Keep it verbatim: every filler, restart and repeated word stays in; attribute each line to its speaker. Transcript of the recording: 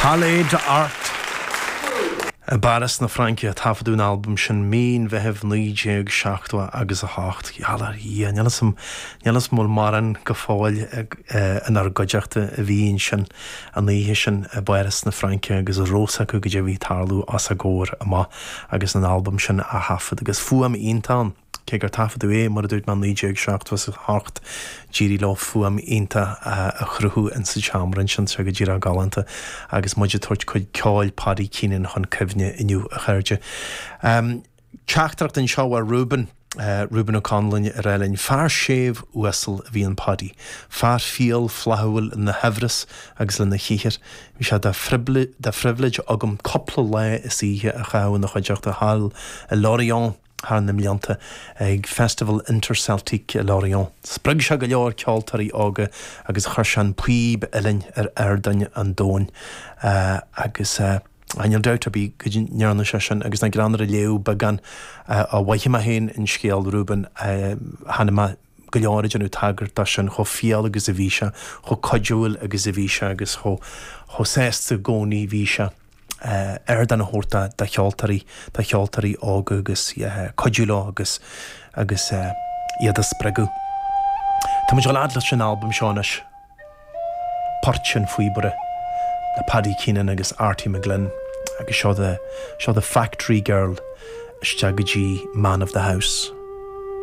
Speaker 1: Palais d'Art i bPáras na Fraince a taifeadadh an albam sin mí an Mheithimh naoi déag seachtó agus a hocht. Gheall ar Dhia, níl 'fhios a'm, níl 'fhios a'm an bhfuil mórán go fóill inár gcuideachta a bhí ansin an oíche sin i bPáras na Fraince agus a raibh 'fhios acu goidé a bhí ag tarlú os a gcomhair amach agus an albam sin á thaifead agus fuaim iontach ann. Cé gur taifeadadh é, mar a dúirt mé, naoi déag seachtó is a hocht, d'éirigh leo fuaim iontach a chruthú insa tseomra ansin, tá sé go díreach galánta agus muid ag tabhairt cuid ceoil Paddy Keenan chun cuimhne inniu, a chairde. Teachtaireacht anseo ó Reuben, Reuben Ó Conluain ag rá linn, Fear séimh uasal a bhí in Paddy, fear fial flaithiúil lena shaibhreas agus lena shaothar. Bhí sé de phribhléid agam cúpla lá is oíche a chaitheamh ina chuideachta thall i Lorient, thar na mblianta ag Festival Interceltique i Lorient. Spreag sé go leor ceoltóirí óga agus chuir sé an píb uilleann ar ardáin an domhain agus níl dabht ar bith go ndearna sé sin agus nach greannmhar a léamh beagán a mhothaigh mé féin an scéal Reuben chonaic mé go leor ag déanamh tagairt dó sin chomh fial agus a bhí sé, chomh cuidiúil agus a bhí sé agus chomh sásta i gcónaí bhí sé. ardán a thabhairt do cheoltóirí, do cheoltóirí óga agus cuidiú leo agus agus iad a spreagadh. Tá muid ag dul fhad leis an albam seo anois, Port an Phíobaire le Paddy Keenan agus Arty McGlynn agus seo the, seo the Factory Girl isteach go dtí Man of the House.